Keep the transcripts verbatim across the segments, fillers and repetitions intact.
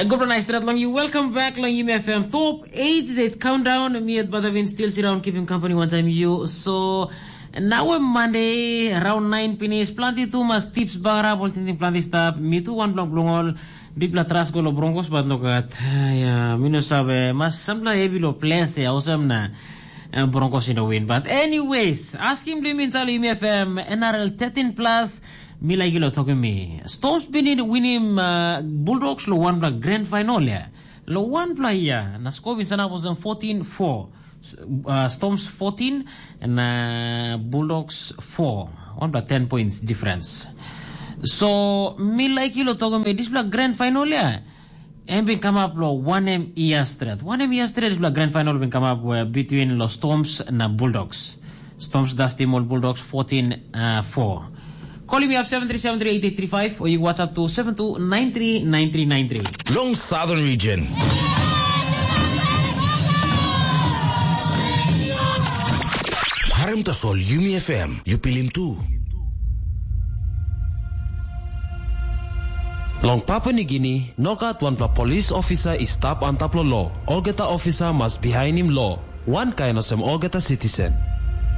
Gupta nais stret long you. Welcome back long Yumi F M Top eight Date Countdown. Mi at Badavin still sit down keeping company one time you. So now a Monday around nine pinis, planti tu mas tips bagara bol tintin planti stap. Mi tu one block blong all big bla tras go lo Broncos but no gat. Ya, mi no save mas sampla heavy lo place ya osam na. Uh, Broncos in a win. But anyways, asking blim in Charlie Yumi F M N R L thirteen plus. Mi like lo talking me. Storms been in winim uh, Bulldogs lo one block grand final ya. Lo one block ya. Na score bin sana was fourteen four. Uh, Storms fourteen and uh, Bulldogs four. One block ten points difference. So mi like lo talking me this block grand final ya. Em bin kamap lo wanem ia stret. Wanem ia stret dispela grand final bin kamap we between lo Storms na Bulldogs. Storms dastim ol Bulldogs fourteen four. Call me up seven three seven three eight eight three five or you WhatsApp to seven two nine three nine three nine three. Long Southern Region. Harim tasol Yumi F M, you pilim tu. Long Papua Nigini, nogat wanpela polis ofisa i stap antap long lo. Olgeta ofisa mas bihainim lo. Wankain olsem olgeta sitisen.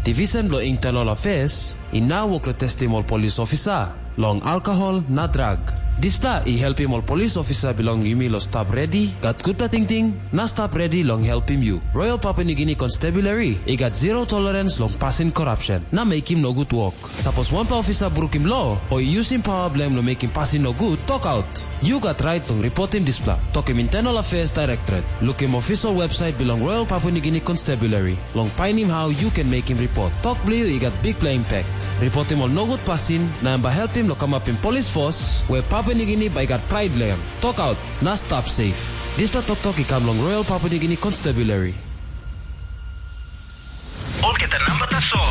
Divisen bilong Internal Affairs i nau wok long testim ol polis ofisa long alkohol na drag. Dispela i helpim ol polis ofisa bilong yumi long stap redi, gat gutpela tingting, na stap redi long helpim yu. Royal Papua Nigini Constabulary i gat zero tolerance long pasin korapsen na mekim nogut wok. Sapos wanpela ofisa brukim lo o i yusim pawa bilong em long mekim pasin nogut, tokaut. Yu gat rait long ripotim dispela. Tokim Internal Affairs Directorate. Lukim official website bilong Royal Papua Nigini Constabulary. Long painim hau yu ken mekim ripot. Tok bilong yu i gat bikpela impact. Ripotim ol nogut pasin, na em bai helpim long kamapim polis fos we Papua Nigini bai i gat prait long em. Tokaut, na stap safe. Dispela toktok i kam long Royal Papua Nigini Constabulary. Olgeta namba tasol.